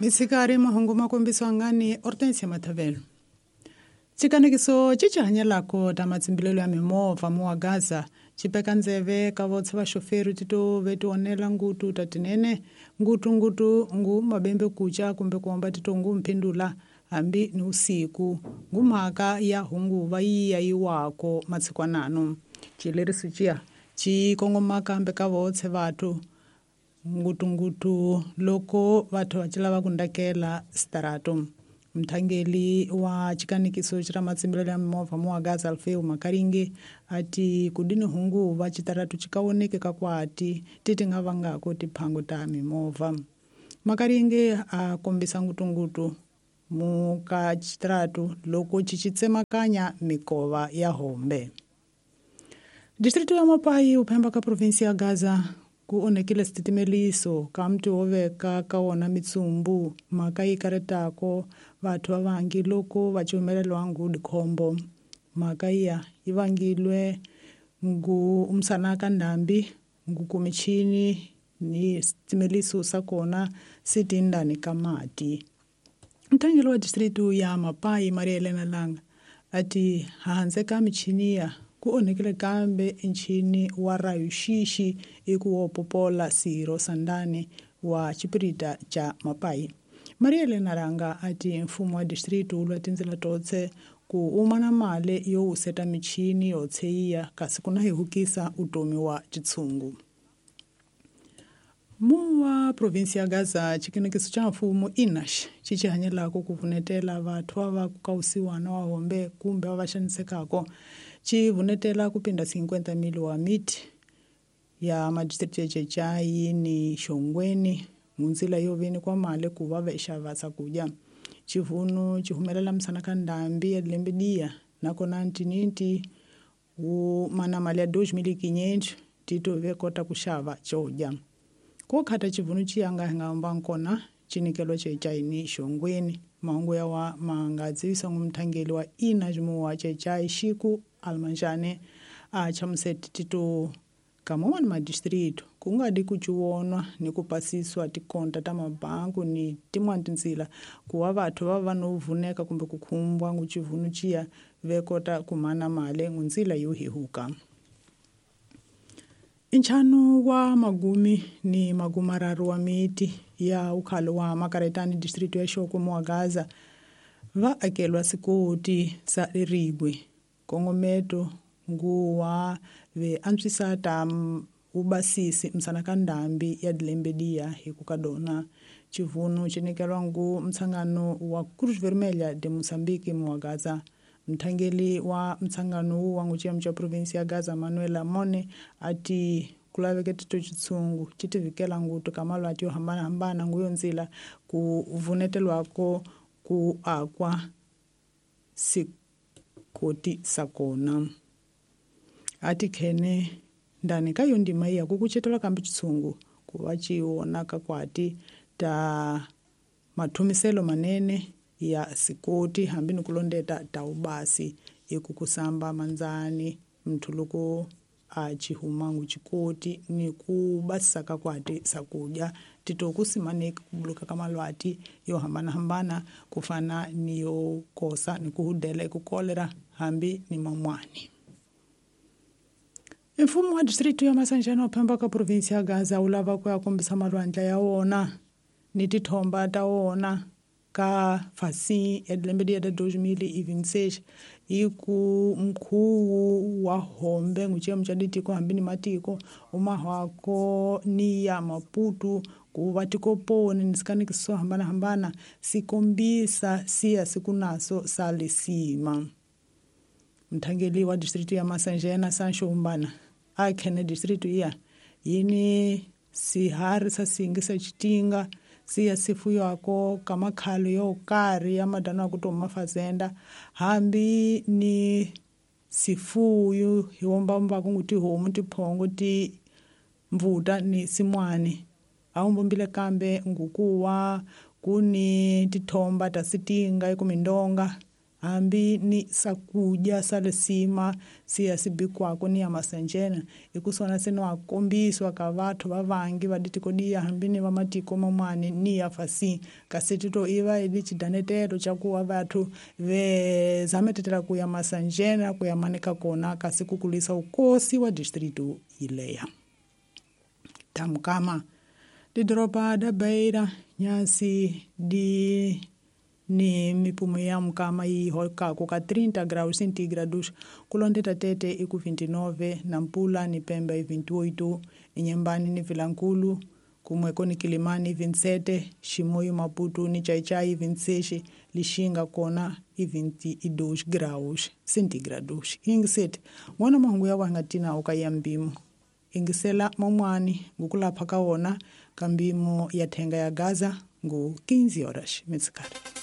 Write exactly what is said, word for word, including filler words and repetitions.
Misikari mahungu makombiswa ngani Hortensia Mathavelo. Tshikanekiso tshi tshi hanyelako ta matshimbilelo ya mimovha muwa Gaza tshipeka ndzeve ka votse vaxoferi tito ve tionela ngutu ta tinene ngutu ngutu ngu mabembe kucha kumbe kuomba tito ngu mphindula hambi ni usiku ngu mhaka ya hunguva yi ya yiwako matshikwanano tshileriso tshia tshi kongoma kambe ka votse vathu ngutungutu loko vathu va tshi lava ku ndakela starato. Mthangeli wa tshikanekiso tshira matshimbilelo ya mimovha muwa Gaza Alfeu Makaringe ati kudini hungu va tshitaratu tshikawoneke ka kwati titi nga vangako tiphango ta mimovha. Makaringe a kombisa ngutungutu muka tshitaratu loko tshi tshi tsemakanya mikova ya hombe. Distrito ya Mapai uphemba ka provinsi ya Gaza ku onhekile sititimeliso ka mti wo veka ka wona mitsumbu mhaka yi karetako vathu va vangi loko va cumelelwa ngu dikhombo. Mhaka iya yi vangilwe ngu umsana ka ndhambi ngu kumichini ni sititimeliso sa kona si tindani ka mati. Mthangeli wa distritu ya Mapai Maria Helena Langa ati handze ka michini ya ku onhekile kambe nchini wa rayuxixi eku wo popola siro sandani wa tshipirita cha Mapai. Maria Helena Langa ati mfumo wa distritu wu lwa tindzela totse ku uma na mali yo wuseta michini yo tsheiya kasi ku na hehukisa utomi wa tshitshungu. Muwa provinsi ya Gaza tshikenekiso cha mfumo inax tshi tshi hanyelako ku vunetela vathu va va ku kausiwana wa hombe kumbe va va xanisekako tshi vunetela ku pinda cinquenta mil wa miti ya madistrict ya Chechai ni Xongweni ngunzila yo veni kwa mali ku va va xava swakudya. Tshivunu tshi humelela msana ka ndhambi ya lembe diya nakona ntininti wu mana mali ya dois mil e quinhentos tito ve kota ku xava xo dya. Ko khata tshivunu tshi yanga hi nga hamba nkona tshinikelo Chechai ni Xongweni. Mahungu ya wa manga dzivisa ngu mthangeli wa ina jimuwa Chechai Xiku Almanjane a chamuseti tito kamomani madistritu ku nga di ku ciwonwa ni ku pasiswa tikonta ta mabangu ni tin'wani tindzila ku va vathu va va no vuneka kumbe ku khumbwa ngu tshivunu tshiya ve kota ku mana mali ngu ndzila yo hehuka. Nchanu wa magumi ni magumararu wa miti ya ukhalo wa Makaretani district ya Xokwe muwa Gaza va akelwa sikoti sa riribwe kongometo nguwa ve antswisa ta ubasisi msana ka ndhambi ya dilembe diya hi ku ka dona. Tshivunu tshi nyikelwa ngu mtshangano wa Cruz Vermelha de Moçambique muwa Gaza. Mthangeli wa mtshangano wu wa nguchiyamo cha provinsi ya Gaza Manuel Amone ati ku laveke tito tshitshungu tshi tivikela ngutu ka malwati yo hambanahambana ngu yo ndzila ku vunetelwako ku akwa sikoti sa kona. Ati khene ndani ka yo ndima iya ku kucetelwa kambe tshitshungu ku va tshi vonaka kwati ta mathumiselo manene ya sikoti hambi ni ku londeta ta ubasi eku kusamba manzani mthu loko a tshi huma ngu tshikoti ni ku basisa ka kwati swakudya tito ku simaneki ku buluka ka malwati yo hambanahambana ku fana ni yo kosa ni ku hudela eku kolera hambi ni man'wani. Mfumo wa distritu ya Masanjana uphemba ka provinsi ya Gaza wu lava ku ya kombisa malwandla ya wona ni tithomba ta wona ka fasi ya lembe ya dois mil e vinte e seis hi ku mkhuwu wa hombe nguchiyamo cha ditiko hambi ni matiko umahwako ni ya Maputo ku va tikoponi ni sikanekiso swo hambanahambana si kombisa siya siku naso sa lisima. Mthangeli wa distritu ya Masanjena Sancho Umbana a khene distritu iya yini sihari sa singi sa tshitinga siya sifuywako ka makhalo yo karhi ya madana ku to mafazenda hambi ni sifuyu hi wombamba ku tihomu tiphongo ti mvuta ni simwani a wumbombile kambe ngukuwa ku ni tithomba ta sitinga eku mindonga hambi ni sakudya sa lisima siya sibikwako ni ya masanjena ikusona seno akombiswa ka vathu va vangi va ditikodia hambi ni va matiko mamane ni ya fasi kasi tito iva ili chidanetelo cha kuwa vathu ve zametetela kuya masanjena kuya manika kona kasi kukulisa ukosi wa distritu ileya tamkama didoropa da Beira nyasi di ni mipumo ya mukama yi holkako ka trinta graus centígrados kulondeta tete iku vinte e nove Nampula ni Pemba i vinte e oito Inhambane ni Vilankulu kumweko ni Quilimane i vinte e sete Chimoio Maputo ni Xai-Xai i vinte e seis Lixinga kona i vinte e dois graus centígrados. Ingisete ngwana mahungu ya wanga tina oka ya mbimo ingisela mamwani ngukulapha ka wona ka mbimo ya thenga ya Gaza ngu quinze horas mitsikari.